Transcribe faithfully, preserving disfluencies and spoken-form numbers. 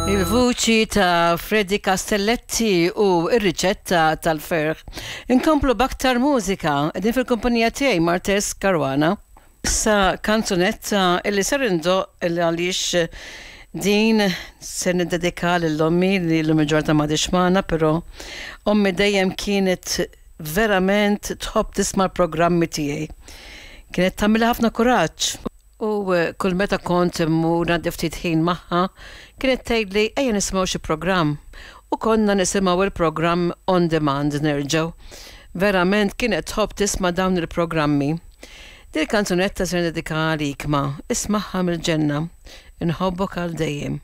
Il-vuċi ta' Freddy Castelletti u ir-riċetta tal-ferħ. Inkomplu b'aktar mużika, din fil-kumpanija tiegħi Martes Caruana. Issa kanzunetta illi ser indoqq illi għaliex din se niddedika lil ommi li llum il-ġurnata m'għadhiex magħna, però ommi dejjem kienet verament tħobb tisma' l-programmi tiegħi. Kienet tagħmilha ħafna kuraġġ. U eh, kull meta kont immur ngħaddi ftit ħin magħha, kienet tgħidli ejja nisimgħu xi programm. U konna nisimgħu il-programm on demand nerġgħu. Verament kienet tħobb tisma' dawn il-programmi. Dil kanzunetta se niddedika għalik ma, ismagħha mill-ġenna. Inħobbok għal dejjem.